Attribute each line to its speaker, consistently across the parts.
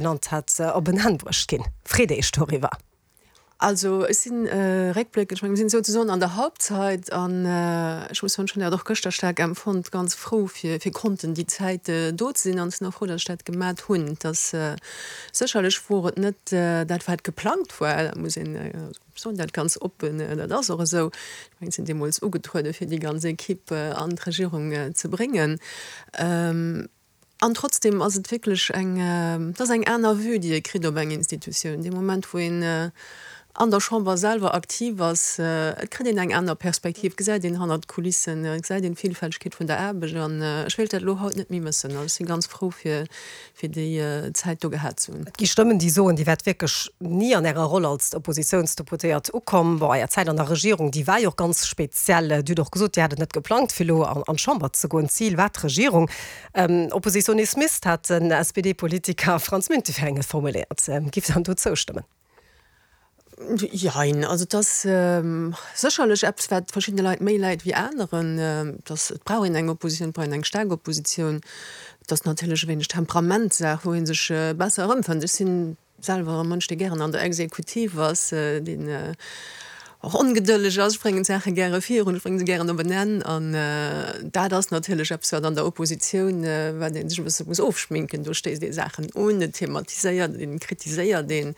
Speaker 1: Genannt hat, op en Enn bruecht ginn. Freet Iech doriwwer.
Speaker 2: Also ech sinn réckbléckend, ech menge mir sinn souzesoen an der Halbzeit an ech muss soen, ech hunn dat och gëschter staark empfonnt, ganz frou fir fir konnten déi Zäit do ze sinn an ech sinn och frou, datt ech dat gemat hunn. Et ass sécherlech wor et net dat wat geplangt war, dat muss een, ech soen dat ganz oppen, dat ass och esou. Ech mengen ech sinn deemools ugetruede fir déi ganz Equipe an d'Regierung ze bréngen. An trotzdem ass et wierklech eng, et ass eng aner Vue, déi ee kritt op eng Institutioun. Dee Moment, wou een an der Chamber selwer aktiv ass, et kritt een eng aner Perspektiv, et gesäit een hannert d'Kulissen, et gesäit een d'Villfältegkeet vun der Aarbecht. An ech wéilt dat elo haut net méi mëssen. Also ech si ganz frou, fir fir déi Zäit do gehat ze hunn.
Speaker 1: Et gi Stëmmen, déi soen, Dir wäert wierklech ni an Ärer Roll als Oppositiounsdeputéiert ukomm. Bon, Är Zäit an der Regierung, déi war jo och ganz speziell. Dir hutt och gesot, Dir hat et net geplangt, fir elo an d'Chamber ze goen. D'Zil war d'Regierung. Oppositionismist hat den SPD-Politiker Franz Müntefering et formuléiert. Giff Der do zoustëmmen?
Speaker 2: Jein. Also et ass sécherlech eppes, wat verschiddene Leit méi läit wéi aneren. Et ass, et brauch een eng Oppositioun, et brauch een eng staark Oppositioun. Et ass natierlech e wéineg Temperamentsaach, wou ee sech besser erëmfënnt. Ech sinn Selwer e Mënsch, dee gären an der Exekutiv ass, deen och ongedëlleg ass. Ech bréngen d'Saache gäre virun, ech brénge se gären op en Enn. An dat ass natierlech eppes, wat an der Oppositioun, wat ee sech e bësse muss ofschminken. Do stéisst ee Saachen un, et thematiséiert een, et kritiséiert een.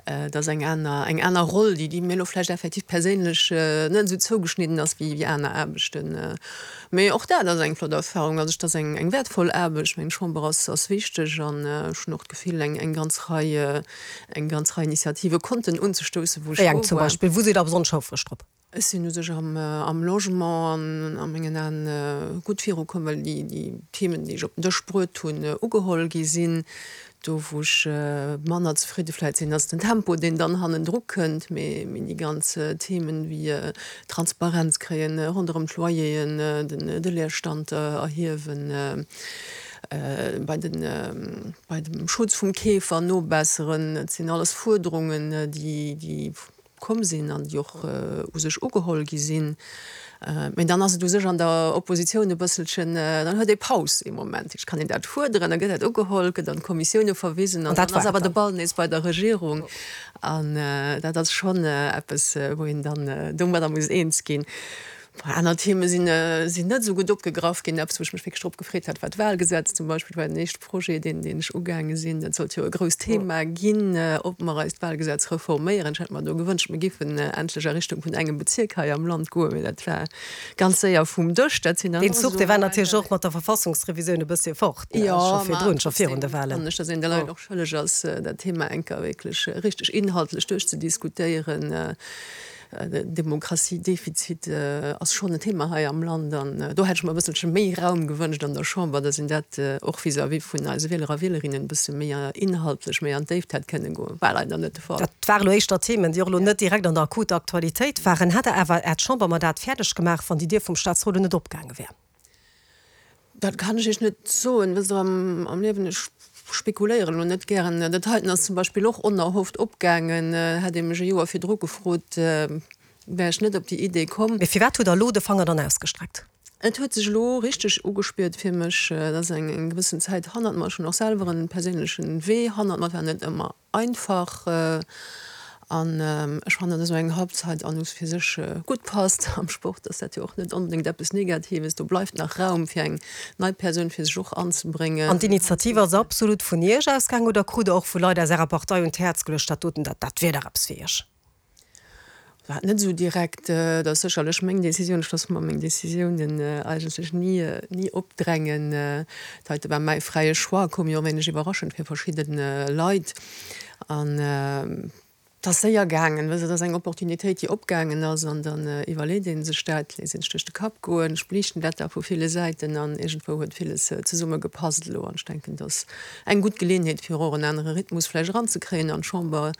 Speaker 2: Et ass eng aner, eng aner Roll, déi, déi mir elo vläicht effektiv perséinlech net esou zougeschnidden ass wéi aner Aarbechten. Mee och dat ass eng flott Erfahrung. Also et ass eng, eng wäertvoll Aarbecht. Ech mengen, d'Chamber ass, ass wichteg an ech hunn och d'Gefill, eng, eng ganz Rei, eng ganz Rei Initiative konnten unzestoussen, wou ech
Speaker 1: Wéi eng zum
Speaker 2: war.
Speaker 1: Beispill? Wou sidd Der besonnesch houfreg drop?
Speaker 2: Ech sinn u sech am, am Logement an a mengen Aen gutt virukomm, well déi, déi Themen, déi ech op den Dësch bruet hunn, ugeholl gi sinn. Do wou ech manner zefridde vläit sinn, ass den Tempo, deen dann hannendru kënnt. Mee déi ganz Themen wéi Transparenz kréien ronderëm d'Loyeren, de Leerstand erhiewen, bei den, bei dem Schutz vum Keefer nobesseren, dat sinn alles Fuerderungen, déi komm sinn an déi och u sech ugeholl gi sinn. Mee dann ass et u sech an der Oppositioun e bësselchen, dann huet ee Paus ee Moment. Ech kann een dat fuerderen, da gëtt dat ugeholl, gëtt an d'Kommissioune verwisen an dann ass awer de Ball nees bei der Regierung. An dat ass schonn eppes, wou een dann domadder muss eens ginn. Aner Theme sinn net esou gutt opgegraff ginn. Eppes, wou ech mech wierklech drop gefreet hat, war d'Wahlgesetz zum Beispill. Dat war den éischte Projet, deen ech ugaange sinn. Dat sollt jo e grousst Thema ginn, ob mer eist Wahlgesetz reforméieren. Ech hätt mer do gewënscht, mir géifen endlech a Richtung vun engem Bezierk hei am Land goen, mee dat war ganz séier vum Dësch. Dat sinn dann
Speaker 1: Deen Zuch, dee war natierlech och mat der Verfassungsrevisioun e bëssche fort,
Speaker 2: ne,
Speaker 1: scho virdrun, scho virun de Wahlen.
Speaker 2: Fannen ech, datt een de Leit och schëlleg ass, dat Thema eng Kéier wierklech richteg inhaltlech duerchzediskutéieren. Demokratiedefizit ass schonn en Thema hei am Land an do hätt ech mer e bësselche méi Raum gewënscht an der Chamber, datt een dat och vis-à-vis vun eise Wieler a Wielerinnen e bësse méi inhaltlech, méi an d'Déift hätt kënne goen. War leider net de Fall.
Speaker 1: Dat ware lo éischter Themen, déi och elo net direkt an der akuter Aktualitéit waren. Hätt Der awer Äert Chambermandat fäerdeg gemaach, wann déi Dier vum Staatsrot elo net opgaange wär?
Speaker 2: Dat kann ech Iech net soen. Wësst Der, am Liewen, ech spekuléieren elo net gären. Dat heiten ass zum Beispill och onerhofft opgaangen. Hätt ee mech e Joer virdru gefrot, wär ech net op déi Idee komm.
Speaker 1: Mee firwat hutt Der elo de Fanger dann ausgestreckt?
Speaker 2: Et huet sech elo richteg ugespiert fir mech. Et ass eng gewëssen Zäit hannert mer. Ech hunn och selwer e perséinlechen Wee hannert mer. Et war net ëmmer Einfach, an ech fannen, dass esou eng Halbzeit an u fir sech gutt passt. Am Sport ass dat jo och net onbedéngt eppes Negatives, do bleift nach Raum fir eng nei Persoun fir sech och anzebréngen.
Speaker 1: An d'Initiativ ass absolut vun Iech ausgaangen oder krut Der och vu Leit aus Ärer Partei un d'Häerz geluecht, dat doten, dat dat wier dach eppes fir Iech?
Speaker 2: War net esou direkt. Dat ass sécherlech meng Decisioun. Ech loosse mer meng Decisiounen eigentlech ni, ni opdrängen. Dat heite war mäi fräie Choix, koum jo e wéineg iwwerraschend fir verschidde Leit. An et ass séier gaangen. Wësst Der, et ass eng Opportunitéit, déi opgaangen ass an dann iwwerleet ee sech dat, léisst ee sech duerch de Kapp goen. Ech beliichten dat da vu ville Säiten an iergendwou huet villes zesumme gepasst elo. An ech denken, et ass eng gutt Geleeënheet, fir och en anere Rhythmus vläicht eranzekréien an d'Chamber.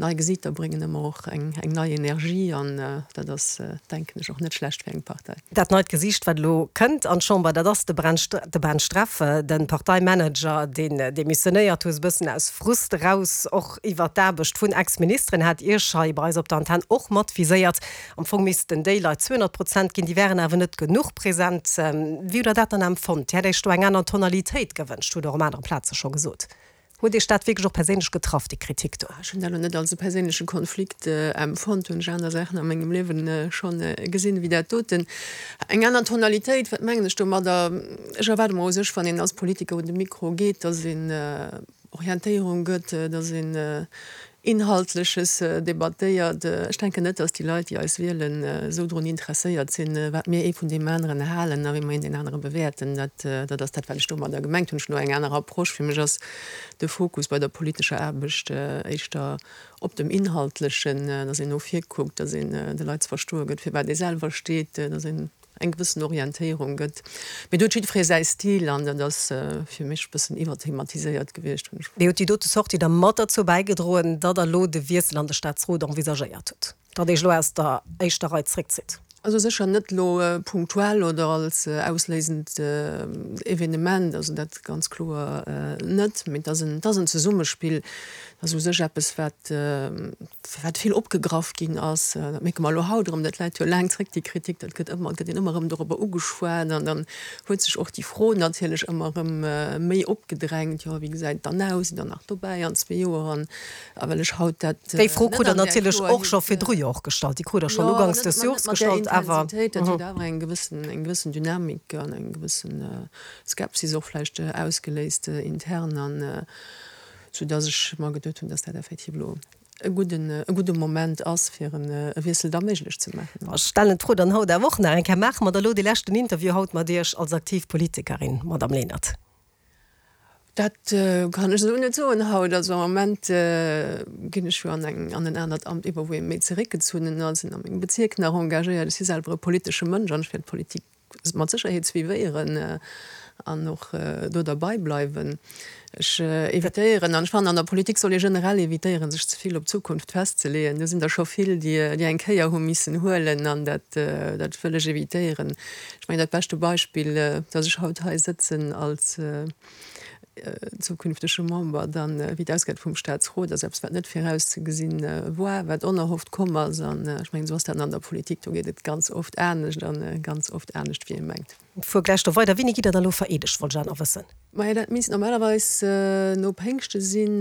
Speaker 2: Nei Gesiiter bréngen ëmmer och eng nei Energie an dat ass, denken ech, och net schlecht fir eng Partei.
Speaker 1: Dat neit Gesiicht, wat elo kënnt an d'Chamber, dat ass de Ben Streff, de Parteimanager, deen demissionéiert huet, e bëssen aus Frust eraus och iwwert d'Aarbecht vun Ex-Ministeren, hat Iech hei bei eis op der Antenn och mat viséiert. Am Fong missten déi Leit 200 Prozent ginn, déi wären awer net genuch present. Wéi hutt Der dat dann empfonnt? Dir hätt Iech do eng aner Tonalitéit gewënscht, hutt Der och op anere Plaze scho gesot. Huet Iech dat wierklech och perséinlech getraff, déi Kritik do?
Speaker 2: Ech hunn dat elo net als e perséinleche Konflikt empfonnt. Hunn ech aner Saachen a mengem Liewen schonn gesinn ewéi dat doten. Eng aner Tonalitéit, wat mengen ech domadder? Ech erwaarde mer u sech, wann een als Politiker un de Mikro geet, datt een Orientéierung gëtt, datt een Inhaltleches debattéiert. Ech denken net, datt déi Leit, déi eis wielen, esou drun interesséiert sinn, wat mir ee vun deem aneren halen a wéi mer een deen anere bewäerten. Dat, dat ass dat, wat ech domadder gemengt hunn. Ech hunn elo eng aner Approche. Fir mech ass de Fokus bei der politescher Aarbecht éischter op dem Inhaltlechen, datt een no vir kuckt, datt een de Leit ze verstoe gëtt, firwat ee selwer steet, datt een eng gewëssen Orientéierung gëtt. Mee do huet jiddweree säi Stil an dat ass fir mech e bëssen iwwerthematiséiert gewiescht, hunn
Speaker 1: ech. Mee huet déi dote Sortie da mat derzou bäigedroen, datt Der elo de Wiessel an de Staatsrot envisagéiert hutt, datt Iech elo aus der éischter Rei zréckzitt?
Speaker 2: Also sécher net elo punktuell oder als ausléisend Evenement, also dat ganz kloer net. Mee et ass en, et ass en Zesummespill. Et ass u sech eppes, wat, wat vill opgegraff ginn ass. Dat mierke mer elo haut erëm, dat läit jo laang zréck, déi Kritik, dat gëtt ëmmer, et gëtt een ëmmer erëm dorobber ugeschwat an dann huet sech och déi Fro natierlech ëmmer erëm méi opgedrängt, jo, wéi gesäit et dann aus, sidd Der nach dobäi an zwee Joer? An a well ech haut dat
Speaker 1: Déi Fro krut Der natierlech och scho virdru jo och gestallt, déi krut Der schonn uganks des Jors gestallt,
Speaker 2: awer. Jo, net mat där Intensitéit, dat huet awer eng gewëssen, eng gewëssen Dynamik an eng gewëssen Skepsis och vläicht ausgeléist intern an soudass ech mer geduet hunn, dass dat effektiv elo e gudden, e gudde Moment ass, fir e Wiessel da méiglech ze maachen.
Speaker 1: Ech stellen d'Fro dann haut awer och nach eng Kéier, Maache mer da elo dee leschten Interview haut mat Iech als aktiv Politikerin, Madamm Lenert?
Speaker 2: Dat kann ech esou net soen haut. Also am Moment ginn ech jo an eng, an en anert Amt iwwer, wou ee méi zeréckgezunnen ass, sinn a mengem Bezierk nach engagéiert. Ech si selwer e politesche Mënsch an ech wäert d'Politik mat Sécherheet suivéieren an och do derbei bleiwen. Ech evitéieren, an ech fannen an der Politik soll ee generell evitéieren, sech ze vill op d'Zukunft festzeleeën. Do sinn der scho vill, déi déi eng Kéier hu missen huelen an dat dat wëll ech evitéieren. Ech mengen dat beschte Beispill, datt ech haut hei sëtzen als zukünftege Member dann, wéi et ausgeet vum Staatsrot, ass eppes, wat net virauszegesinn war, wat onerhofft komm ass. An ech mengen, esou ass dat an der Politik, do geet et ganz oft anescht a ganz oft anescht, wéi ee mengt.
Speaker 1: Fuer gläich do weider. Wéini gitt Der da lo vereedegt, wollt ech awer nach wëssen.
Speaker 2: Majo, dat misst normalerweis no Péngschte sinn.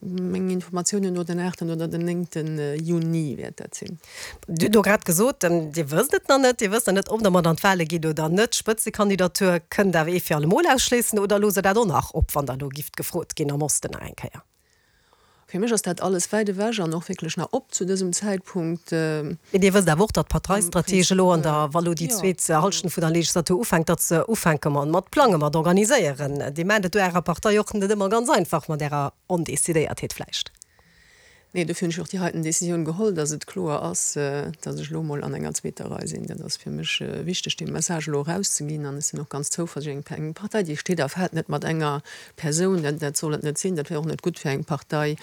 Speaker 2: Mengen Informatiounen no den aachten oder den néngten Juni wäert dat sinn.
Speaker 1: Dir hutt elo grad gesot, Dir wësst et nach net, Dir wësst nach net, ob Der mat an d'Wale gitt oder net. D'Spëtzekandidatur kënnt awer ee fir allemol ausschléissen oder loosst Der dat och nach op, wann Der elo gifft gefrot ginn am Osten nach eng Kéier?
Speaker 2: Fir mech ass dat alles wäit ewech an och wierklech nach op zu dësem Zäitpunkt.
Speaker 1: Mee Dir wësst awer och, datt d'Parteistrategie elo an der, wa lo déi zweet Hallschent vun der Legislatur ufänkt, datt se ufänke mat plangen, mat organiséieren. Dir maacht et do Ärer Partei och net ëmmer ganz einfach mat Ärer Ondecidéiertheet vläicht.
Speaker 2: Nee, dofir hunn ech och déi heiten Décisioun geholl, dass et kloer ass, dass ech elo emol an enger zweeter Rei sinn. Dat ass fir mech wichteg, dee Message elo erauszeginn. An ech sinn och ganz zouversiichtlech, eng Partei, déi steet a fält net mat enger Persoun. Dat, dat soll et net sinn. Dat wär och net gutt fir eng Partei.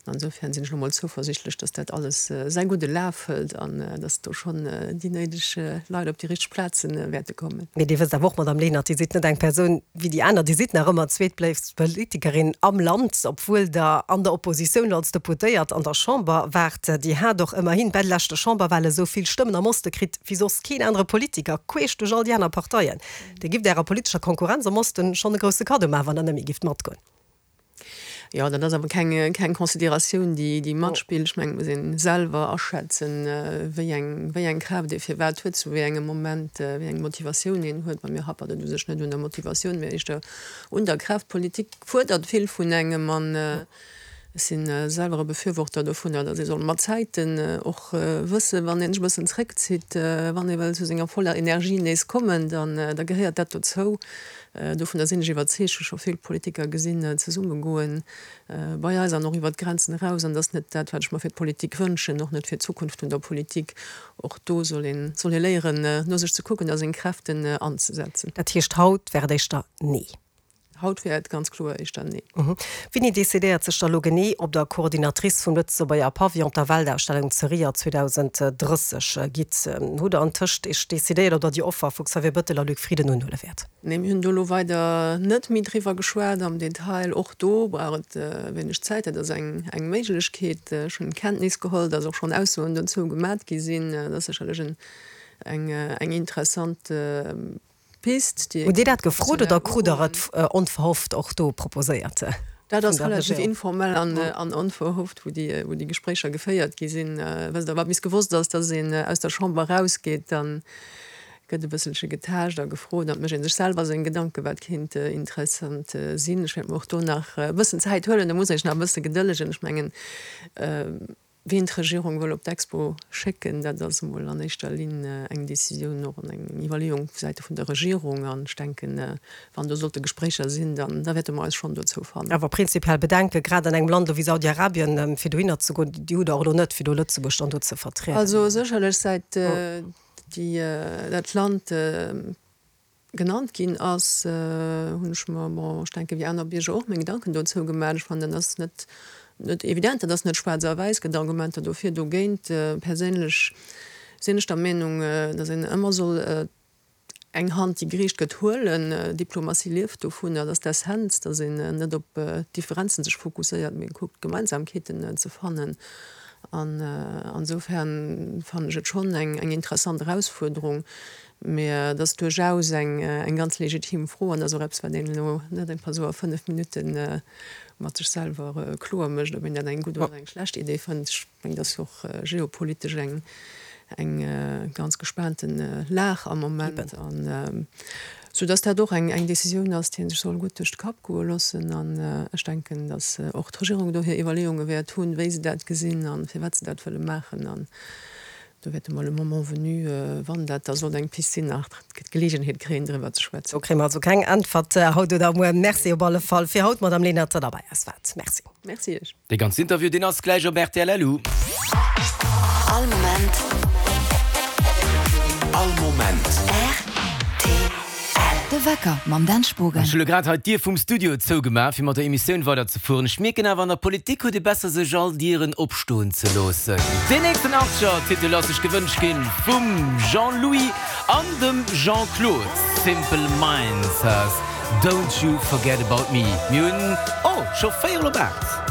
Speaker 2: An insofern sinn ech elo emol zouversiichtlech, dass dat alles säi gudde Laf hëlt an dass do schonn déi néideg Leit op déi richteg Plaze wäerte kommen.
Speaker 1: Mee Dir wësst awer och, Madamm Lenert, Dir sidd net eng Persoun wéi déi aner. Dir sidd nach ëmmer zweetbléifst Politikerin am Land, obwuel Der an der Oppositioun als Deputéiert an der Chamber waart. Dir hat och ëmmerhin bei de leschte Chamberwale sou vill Stëmmen am Oste kritt wéi soss keen anere Politiker, queesch duerch all déi aner Parteien. Dir gifft Ärer politescher Konkurrenz am Osten schonn e grousse Kaddo maachen, wann Der net méi gifft matgoen.
Speaker 2: Jo, dat ass awer keng, keng Consideratioun, déi, déi matspillt. Ech mengen, et muss ee selwer aschätzen, wéi eng, wéi eng Kraaft ee firwat huet, zu wéi engem Moment, wéi eng Motivatioun een huet. Bei mir happert et u sech net un der Motivatioun, mee éischter un der Kraaft. D'Politik fuerdert vill vun engem an ech si selwer e Befürworter dovunner, datt ee soll mat Zäiten och wëssen, wann ee sech e bëssen zréckzitt, wann ee wëll zu senger voller Energie nees kommen, dann, da gehéiert dat dozou. Dovunner sinn ech iwwerzeegt, hu scho vill Politiker gesinn zesummegoen, bei eis an och iwwert d'Grenzen eraus. An dat ass net dat, wat ech mer fir d'Politik wënschen, och net fir d'Zukunft vun der Politik. Och do soll een, soll ee léieren, no sech ze kucken a seng Kräften anzesetzen.
Speaker 1: Dat heescht, haut wär et éischter Nee?
Speaker 2: Haut wär et ganz kloer éischter Nee.
Speaker 1: Wéini decidéiert sech da lo genee, ob Der Coordinatrice vum Lëtzebuerger Pavillon op der Weltausstellung zu Rio 2030 gitt? Hutt Der antëscht Iech decidéiert, ob Der déi Offer vu Xavier Bettel a Luc Frieden unhuele wäert?
Speaker 2: Nee, mir hunn do elo weider net méi driwwer geschwat am Detail. Och do brauch et e wéineg Zäit. Dat ass eng Méiglechkeet. Ech hunn Kenntnis geholl, datt och schonn Aussoen dozou gemat gi sinn. Dat ass sécherlech eng interessant Pist,
Speaker 1: déi ee Hutt Dir dat gefrot oder krut Der et onverhofft och do proposéiert?
Speaker 2: Dat ass relativ informell an onverhofft, wou déi Gespréicher geféiert gi sinn. Wësst Der, wat bis gewosst ass, datt een aus der Chamber erausgeet, da gëtt e bësselche getaascht a gefrot an et mécht ee sech selwer seng Gedanken, wat kéint interessant sinn. Ech wäert mer och do nach e bëssen Zäit huelen, do muss ee sech nach e bësse gedëllegen. Ech mengen, Ween d'Regierung wëll op d'Expo schécken, dat ass emol an éischter Linn eng Décisioun och an eng Iwwerleeung vu Säite vun der Regierung. An ech denken, wann do sollte Gespréicher sinn, dann da wäerte mer eis schonn dozou fannen.
Speaker 1: Awer prinzipiell Bedenke, grad an engem Land elo wéi Saudi-Arabien, fir dohinner ze goen, déi hutt Der och elo net, fir do Lëtzebuerg dann do ze vertrieden.
Speaker 2: Also sécherlech säit déi dat Land genannt ginn ass, hunn ech mer, bon, ech denke wéi aner Bierger och, meng Gedanken dozou gemaach. Ech fannen, dat ass net, net evident, dat ass net schwaarz a wäiss, gëtt Argumenter dofir, dogéint. Perséinlech sinn ech der Meenung, datt een ëmmer soll eng Hand, déi gereecht gëtt, huelen. Diplomatie lieft dovun, dat ass d'Essenz, datt een net op d'Differenzen sech fokusséiert, mee kuckt Gemeinsamkeeten ze fannen. An ansoufern fannen ech et schonn eng interessant Erausfuerderung. Mee et ass duerchaus eng ganz legitim Fro an ass och eppes, wat een elo net einfach esou a 5 Minutte mat sech selwer kloer mécht, ob een dat eng gutt oder eng schlecht Idee fënnt. Ech mengen, et ass jo och geopolitesch eng ganz gespaante Lag am Moment, an soudass dat och eng Decisioun ass, déi ee sech soll gutt duerch de Kapp goe loossen. An ech denken, datt och d'Regierung do hir Iwwerleeunge wäert hunn, wéi se dat gesinn a firwat se dat wëlle maachen. Do wäerte mer le moment venu, wann dat da sollt eng Pist sinn, nach d'Geleegenheet kréien, driwwer ze schwätzen.
Speaker 1: Do kréie mer also keng Äntwert haut oder muer. Merci op alle Fall fir haut, Madamm Lenert, datt Der bei eis waart. Merci.
Speaker 2: Merci Iech.
Speaker 3: Dee ganzen Interview, deen ass gläich op rtl.
Speaker 4: All Moment.
Speaker 3: All Moment.
Speaker 4: Rtl. De Wecker mam Dan Spogen.
Speaker 3: Ech hu lo grad hei d'Dier vum Studio zougemaach, fir mat der Emissioun weiderzefueren. Ech mierken awer, an der Politik huet ee besser sech all Dieren opstoen ze loossen. Deen nächsten Archer-Titel ass sech gewënscht ginn vum Jean-Louis an dem Jean-Claude. Simple Minds has Don't You Forget About Me. Mir hunn, oh, scho véierel op 8.